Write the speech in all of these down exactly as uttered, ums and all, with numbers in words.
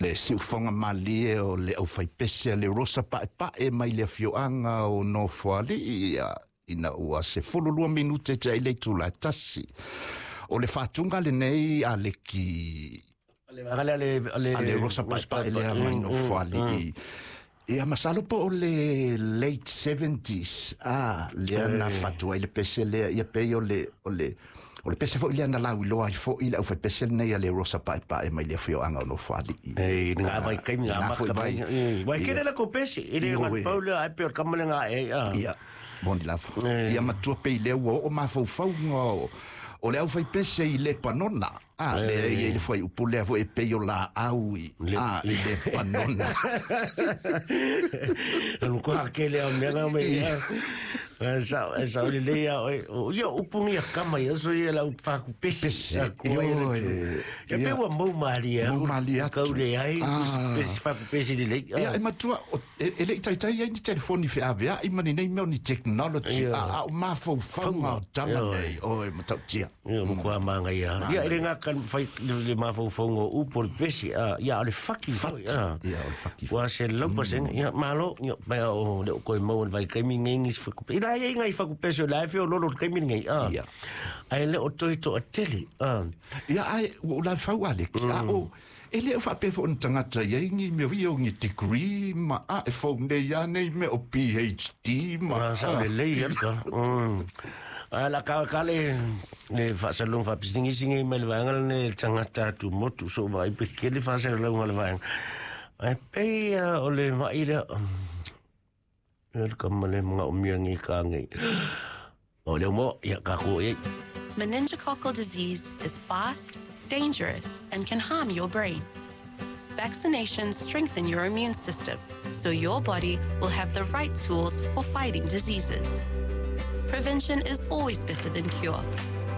Le siufoga malie o le aufaipese a le Rosa Pa'epa'e mai le afioaga o Nofoalii ia ina ua sefululua minute te ai le itulā e tasi. O le faatuga lenei a leki Ale ale ale a le Rosa Pa'epa'e lea mai Nofoalii. Ia masalo po o le late seventies a lea na fatu ai le pese lea ia pei o le o le o le pese foi lea na lauiloa ai fo'i le aufaipese lenei a le Rosa Pa'epa'e mai le afioaga o Nofoalii. E ngā vai kai ngā Na foi maka vai. mai. Wai Ia. kere la ko pesi, e le Ia, ngā oe. pau le ai pe o kama le ngā e. ah. Ia, moni lava. Eh. Ia matua pei lea ua oo mafaufauga o, o le aufaipese i Lepanona. A, lea ia i le fuaiupu lea foi e pei o laau i, Le- a, i Lepanona. Anu ko hake le au mea ngā me ia. E sa e sa le le ia o ia upu ngia kama ia so ia la upa ku pesi. Pesi. Ah, ku ai le Ioe. tu. Ia pe Ia. ua mau malie. Mau malie atu. Kau le ai Ah. pesi fa ku pesi le le. Ia, e matua, o- e, e lei taitai ai ni telefoni feavea'i ma ni nei mea o ni technology. Ia. A, a o mafaufauga o tama Ioe. nei. Oe, matautia. Ia mo kua manga ia. Ia ele ngā kan fai le le mafaufauga o upu o le pesi. Ah, ia o le faki foi. Ah. Ia, o le faki. Ua se lau paseng ia malo ia mai o le ko mau vai kai mi ngi fa ku. Ina ia ngai fa ku peso la fe o lolo kai mi ngi ah. Ia. Ai le o toi to atele ah. Ia, ai, ua ou lalafau a leki. A o, e le o faapea foi o ni tagata iai ni mea ia o ni degree ma a e fou nei a nei mea o P H D ma Ah, sa le le ia ka. Mm. A la ka ka le le fa sa long fa pisingi singi mai le vanga le tangata tu motu so vai pe ke le fa sa long le vanga. Ai pe ah, o le mai le le ka ma le mga umia ngi ka ngi. O le mo ia ka ko e. Meningococcal disease is fast, dangerous, and can harm your brain. Vaccinations strengthen your immune system so your body will have the right tools for fighting diseases. Prevention is always better than cure.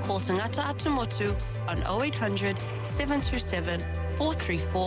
Call Tangata Atumotu on oh eight hundred, seven two seven, four three four.